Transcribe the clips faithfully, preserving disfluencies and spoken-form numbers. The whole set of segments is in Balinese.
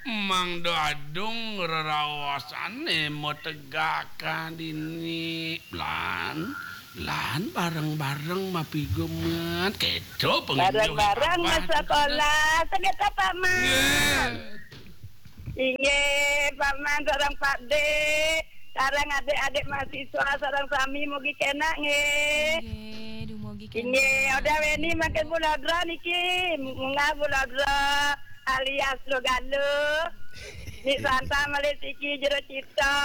Mangda adung reraosané mategakan dini. Lan, lan bareng-bareng mapigumet. Kéto panginjil Bareng-bareng Abah. Masekolah. Sagét, Pak Man. Nggih. Inggih, Pak Man, sareng Pak Dé. Sareng adik-adik mahasiswa, sareng sami mugi kénak nggih. Nggih, dumugi kénak. Inggih, Oda Weni mangkin bulodra niki, munggah bulodra alias Logalo. Nik Santa malih siki jero cita.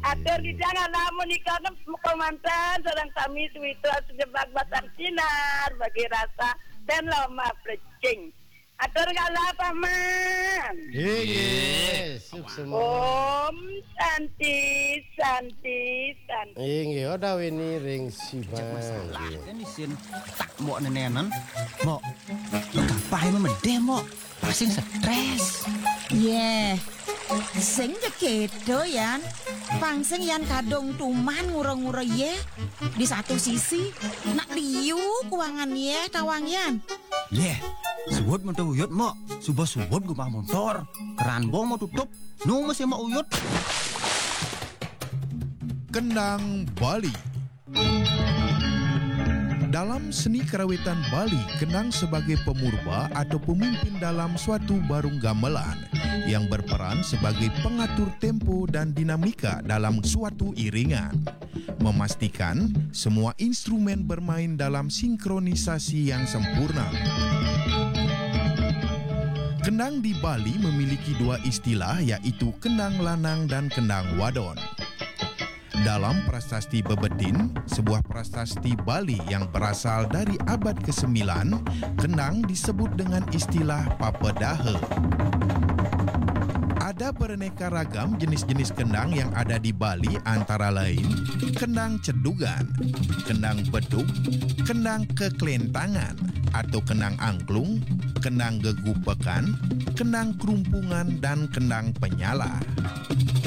Atur didang alamun nika komanten sareng sami suwita sejebak batang sinar bagi rasa dan loma plecing. Atur kala Pak Man. Inggih, suksma. Om Santi, Santi, Santi. Inggih, Oda Weni ring Sibang. Masalah kan isin tak mok nenenen. Mok, lu kapahe memedeh, Mok? Pasing stres. Yeh, sing ja keto, Yan. Pang sing Yan kadung tuman ngura-ngura, yeh. Di satu sisi, nak liu kuangan, yeh, tawang, Yan. Yeh, suud montor uyut, Mok. Suba suud gumah montor. Keran bong mau tutup. Nu masih mau uyut. Kendang Bali. Dalam seni karawitan Bali, kendang sebagai pemurba atau pemimpin dalam suatu barung gamelan yang berperan sebagai pengatur tempo dan dinamika dalam suatu iringan. Memastikan semua instrumen bermain dalam sinkronisasi yang sempurna. Kendang di Bali memiliki dua istilah, yaitu kendang lanang dan kendang wadon. Dalam prasasti Bebedin, sebuah prasasti Bali yang berasal dari abad kesembilan, kendang disebut dengan istilah papedaha. Ada beraneka ragam jenis-jenis kendang yang ada di Bali, antara lain kendang cedugan, kendang beduk, kendang keklentangan atau kendang angklung, kendang gegupekan, kendang kerumpungan, dan kendang penyalah.